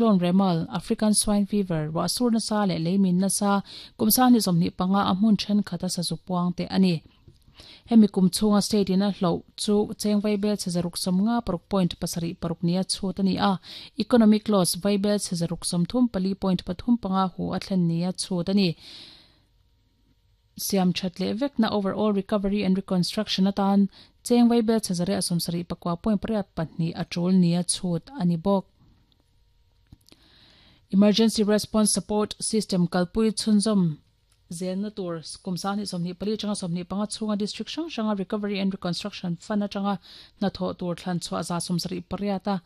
Cyclone Remal, African Swine Fever, ruahsur nasa leh leimin nasa kum 2025 a hmun thenkhat a sazu puang te a ni. Hemi kum chhunga state in a hloh chu cheng vaibel chhe 650 paruk point pasarih paruk nia chhut a ni a, economic loss vaibel chhe 634 point pathum panga hu a thlen nia chhut a ni. Siam that leh vekna overall recovery and reconstruction atan cheng vaibel chhe 179 point pariat pahnih a tul nia chhut a ni bawk. Emergency Response Support System kalpui chhunzawm zelna tur kum 2024 atanga 25 chhunga district hrang hranga Recovery and Reconstruction Fund atanga hnathawh tur thlan chhuah 78 a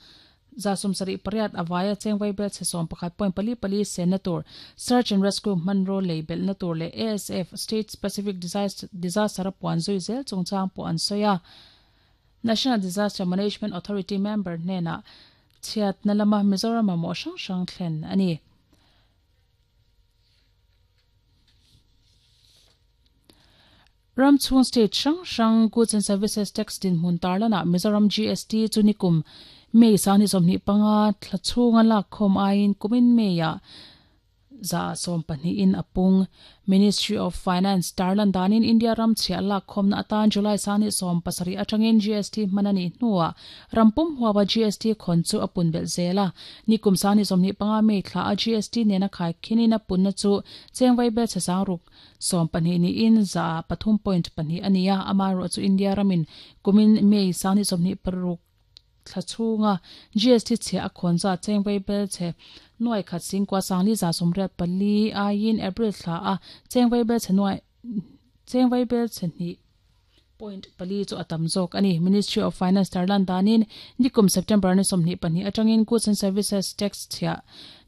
78 a vaia cheng vaibel chhe 11 point pali pali senna tur Search and Rescue hmanraw lei belhna tur leh ASF State Specific Disaster a puan zui zel chungchang pawh an sawi a. National Disaster Management Authority member hnenah chhiatna lama Mizoram mamawh hrang hrang thlen a ni. Ram chhung state hrang hrang Goods and Services Tax dinhmun tarlanah Mizoram GST chu nikum May 2025 thla chhunga lakkhawm aiin kumin May-ah 12% in a pung. Ministry of Finance tarlan danin India ram chhiah lakkhawmna atan July 27 atangin GST hman a nih hnuah ram pum huapa GST khawn chu a pun belh zel a. Nikum 2025 May thla a GST nena khaikhinin a punna chu cheng vaibel chhe sangruk 12 niin 3.2 a ni a, amaherawh chu India ramin kumin May 26 thla chhunga GST chhiah a khawn zat cheng vaibel chhe nuai khat singkua sangli 84 aiin April thla a cheng vaibel chhe nuai cheng vaibel chhe hnih point pali chu a tam zawk a ni. Ministry of Finance tarlan danin nikum September ni 22 atangin Goods and Services Tax chhiah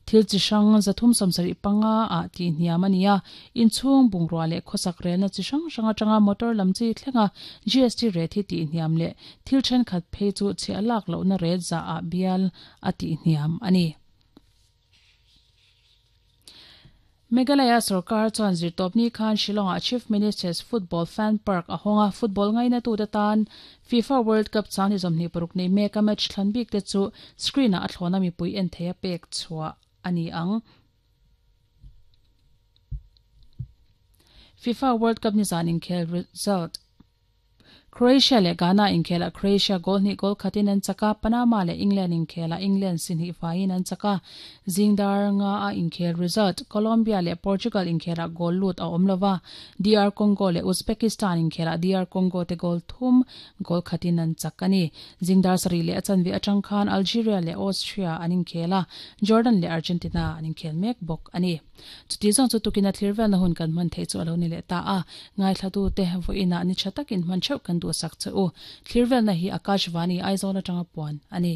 thil chi hrang 375 ah tih hniam a ni a, inchhung bungrua leh khawsak relna chi hrang hrang atanga motor lam chi thlenga GST rate hi tih hniam leh thil thenkhat phei chu chhiah lak lohna rate zah ah bial a tih hniam a ni. Meghalaya sorkar chuan zirtawpni khan Shillong-ah Chief Minister's Football Fan Park a hawng a, football ngainatute tan FIFA World Cup chang ni 26 nei meka match thlan bik te chu screen-ah a thlawna mipui en theia pek chhuah a ni ang. FIFA World Cup nizan inkhel result. Croatia leh Ghana inkhelah Croatia goal hnih goal khatin an chak a, Panama leh England inkhelah England si hnih faiin an chak a. Zingdar nga a inkhel result, Colombia leh Portugal inkhelah goal lut a awm lova, DR Congo leh Uzbekistan inkhelah DR Congo te goal thum goal khatin an chak a ni. Zingdar sarih leh a chanve atang khan Algeria leh Austria an inkhel a, Jordan leh Argentina an inkhel mek bawk a ni. Chuti zawng chu tukin a thlir velna hun kan hman theih chu a lo ni leh ta a, ngaithlatute vawiinah ni tha takin hman theuh kan duhsak che u. Thlir velna hi Akashvani Aizawl atanga puan a ni.